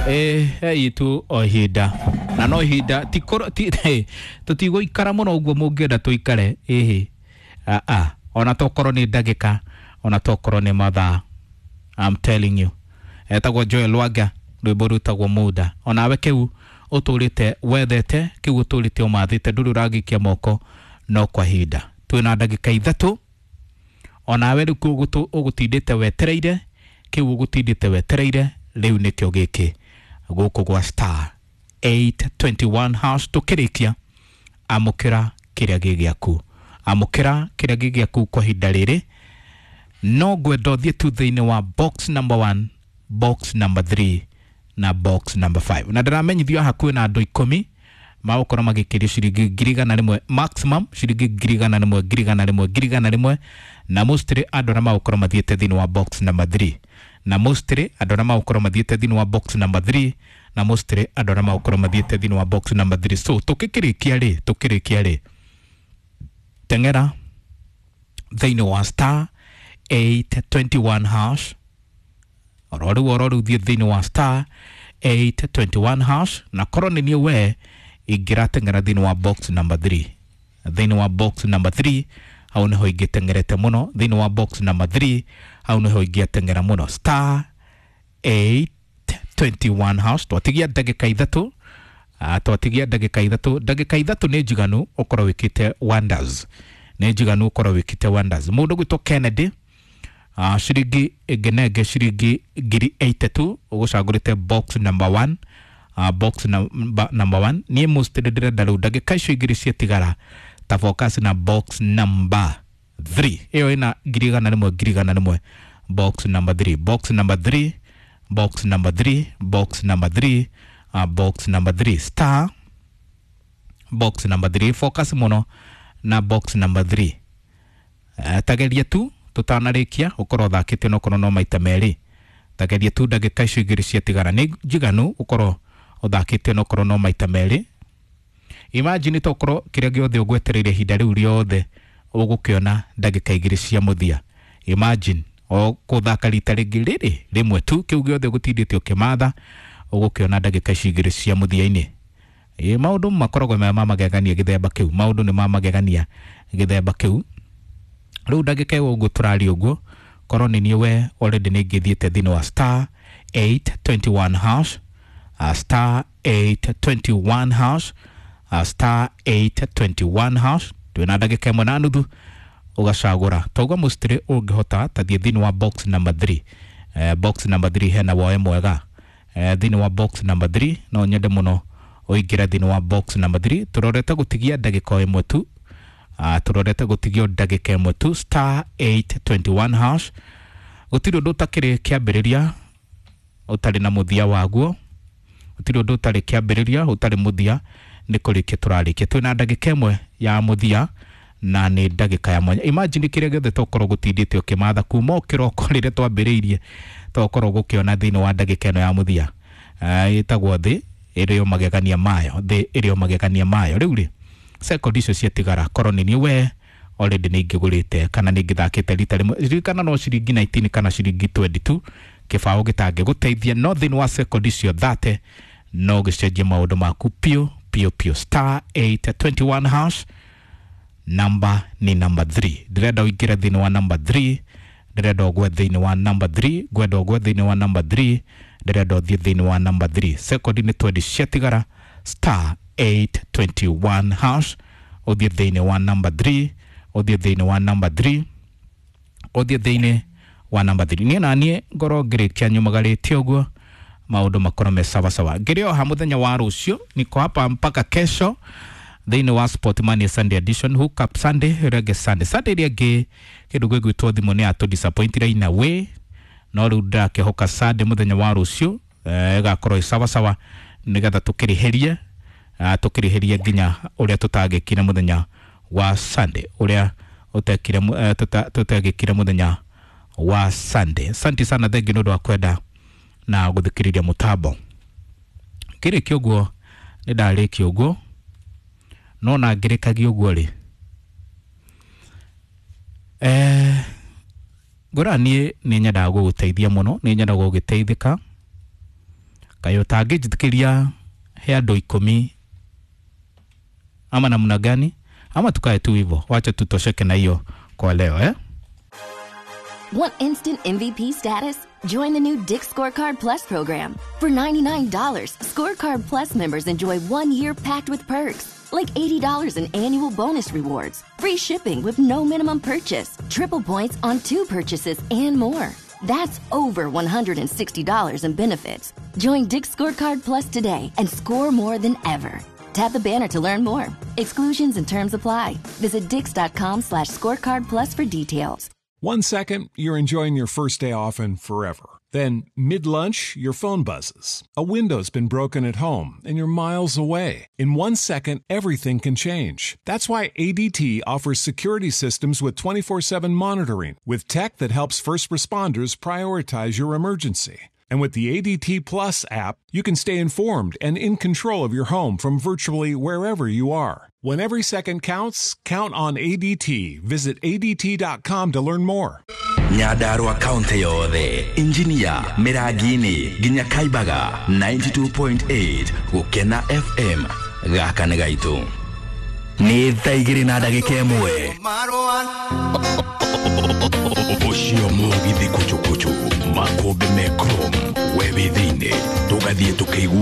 Itu o ihinda na no ihinda tũtigũikara mũno ũguo mũngĩenda tũikare ĩhĩ a ona tokorwo nĩ ndagĩka ona tokorwo nĩ mathaa. I'm telling you, etagwo Joel Lwaga, rwĩmbo rwĩtagwo Muda. Onawe kĩu ũtũrĩte wethete, kĩu ũtũrĩte ũmathĩte, ndũrĩ ũragĩkia moko no kwa ihinda twĩna ndagĩka 3. Onawe rĩu ũgũtindĩte wetereire, kĩu ũgũtindĩte wetereire rĩu nĩkĩo gĩkĩ gũkũ gwa star 821 hash. Tũkĩrĩkia, amũkĩra kĩrĩa gĩ gĩaku, amũkĩra kĩrĩa gĩ gĩaku kwa ihinda rĩrĩ. No ngwenda ũthiĩ tu thĩinĩ wa box number 1, box number 3 na box number 5, na ndĩramenyithio haha kwĩna andũ 10 magũkorwo magĩkĩrio ciringi 100,000 maximum, ciringi 100,000, 100,000, 100,000, na mostly andũ arĩa magũkorwo mathiĩte thĩinĩ wa box number 3, na mostly andũ arĩa magũkorwo mathiĩte thĩinĩ wa box number 3, na mostly andũ arĩa magũkorwo mathiĩte thĩinĩ wa box number 3. So tũkĩkĩrĩkia rĩ, tũkĩrĩkia rĩ, teng'era thĩinĩ wa star 821 hash oro rĩu, oro rĩu thiĩ thĩinĩ wa star 821 hash, na korwo nĩ niĩ we ingĩrateng'era thĩinĩ wa box number 3. Thĩinĩ wa box number 3 hau nĩho ingĩteng'erete mũno, thĩinĩ wa box number 3 hau nĩho ingĩateng'era mũno. Star 821 hash. Twatigia ndagĩka 3, twatigia ndagĩka 3. Ndagĩka 3 nĩ njiganu ũkorwo wĩkĩte wonders, nĩ njiganu ũkorwo wĩkĩte wonders. Mũndũ gwĩtwo Kennedy, ciringi ĩngĩnenge ciringi 80,000, ũgũcagũrĩte box number 1, box number 1. Niĩ mostly ndĩrenda rĩu ndagĩka icio 2 ciatigara ta focus na box number 3, ĩyo ĩna 100,000, 100,000. Box number 3, box number 3, box number 3, box number 3, box number 3, star box number 3. Focus mũno na box number 3. Tageria tu tũtanarĩkia ũkorwo ũthakĩte onokorwo no maita 2. Tageria tu ndagĩka icio 2 ciatigara nĩ njiganu ũkorwo ũthakĩte onokorwo no maita 2. Imagine tokorwo kĩrĩa gĩothe ũgwetereire ihinda rĩu rĩothe ũgũkĩona ndagĩka 2 cia mũthia. Imagine o kũthaka rita rĩngĩ rĩrĩ rĩmwe tu, kĩu gĩothe ũgũtindĩte ũkĩmatha ũgũkĩona ndagĩka ici 2 cia mũthia-inĩ. Maũndũ makoragwo me ma magegania gĩthemba kĩu, maũndũ nĩ ma magegania gĩthemba kĩu. Rĩu ndagĩka ĩyo ũguo tũraria ũguo, korwo nĩ niĩ we already nĩ ingĩthiĩte thĩinĩ wa star 821 hash, star 821 hash, star 821 hash. Twĩna ndagĩka 1.5 ũgacagũra tauga mostly ũngĩhota tathiĩ thĩinĩ wa box number 3. Box number 3 hena woe mwega. Thĩinĩ wa box number 3 no nyende mũno ũingĩre thĩinĩ wa box number 3. Tũrorete gũtigia ndagĩka 1 tu, tũrorete gũtigio ndagĩka 1 tu. Star 821 hash. Gũtirĩ ũndũ ũtakĩrĩ kĩambĩrĩria ũtarĩ na mũthia waguo, gũtirĩ ũndũ ũtarĩ kĩambĩrĩria ũtarĩ mũthia. Nĩ kũrĩkia tũrarĩkia, twĩna ndagĩka 1 ya mũthia na nĩ ndagĩka ya mwanya. Imagine kĩrĩa gĩothe tokorwo gũtindĩte ũkĩmatha kuma o kĩroko rĩrĩa twambĩrĩirie tokorwo gũkĩona thĩinĩ wa ndagĩka ĩno ya mũthia. Ĩtagwo thĩ ĩrĩ o magegania mayo, thĩ ĩrĩ o magegania mayo. Rĩu rĩ, sekondi icio ciatigara, korwo nĩ niĩ we already nĩ ingĩgũrĩte kana nĩ ingĩthakĩte rita rĩmwe. Ririkana no ciringi 19 kana ciringi 22 kĩbaũ gĩtangĩgũteithia, no thĩinĩ wa sekondi icio 30 no gĩcenjie maũndũ maku piũ piũ piũ. Star 821 hash, namba ni number 3. Ndĩrenda ũingĩre thĩinĩ wa number 3, ndĩrenda ũgwe thĩinĩ wa number 3, ngwenda ũgwe thĩinĩ wa number 3, ndĩrenda ũthiĩ thĩinĩ wa number 3. Sekondi nĩ 20 ciatigara. Star 821 hash, ũthiĩ thĩinĩ wa number 3, ũthiĩ thĩinĩ wa number 3, ũthiĩ thĩinĩ wa number 3. Niĩ na niĩ ngorwo ngĩrĩkia nyumagarĩte ũguo maũndũ makorwo me sawasawa. Ngĩrĩ o ha mũthenya wa rũciũ, niko hapa mpaka kesho thĩinĩ wa Sport Money Sunday edition, Hook Up Sunday, Reggae Sunday. Sunday ĩrĩa ĩngĩ kĩndũ gĩgwĩtwo thimũ nĩ atũ disappointire in a way, no rĩu ndĩrakĩhoka Sunday mũthenya wa rũciũ ĩgakorwo ĩ sawasawa nĩgetha tũkĩrĩhĩrie, tũkĩrĩhĩrie nginya ũrĩa tũtagĩkire mũthenya wa Sunday, ũrĩa ũtekire tũtagĩkire mũthenya wa Sunday. Asante sana, thengi nĩ ũndũ wa kwenda na gũthikĩrĩria mũtambo. Ngĩrĩkia ũguo nĩ ndarĩkia ũguo, no na ngĩrĩkagia ũguo rĩ, ngwĩra niĩ nĩ nyendaga gũgũteithia mũno, nĩ nyendaga gũgĩteithĩka. Kaĩ ũtangĩnjĩtĩkĩria he andũ 10 ama namna gani? Ama tukae tu hivyo, wacha tutosheke na hiyo kwa leo eh? Want instant MVP status? Join the new Dick's Scorecard Plus program. For $99, Scorecard Plus members enjoy 1 year packed with perks, like $80 in annual bonus rewards, free shipping with no minimum purchase, triple points on two purchases, and more. That's over $160 in benefits. Join Dick's Scorecard Plus today and score more than ever. Tap the banner to learn more. Exclusions and terms apply. Visit dicks.com/scorecard plus for details. One second, you're enjoying your first day off and forever. Then, mid lunch, your phone buzzes. A window's been broken at home and you're miles away. In 1 second, everything can change. That's why ADT offers security systems with 24/7 monitoring, with tech that helps first responders prioritize your emergency. And with the ADT Plus app, you can stay informed and in control of your home from virtually wherever you are. When every second counts, count on ADT. Visit ADT.com to learn more. Nyandarua kaunti yothe, Injinia, Mĩrangi-inĩ nginya Kaibaga, 92.8 Gũkena FM. Gaka nĩ gaitũ. Nĩ thaa 2 na ndagĩka 1. Ũcio mũgithi kuchukuchu makũmbĩ me chrome we wĩ thĩinĩ tũgathiĩ tũkĩigua.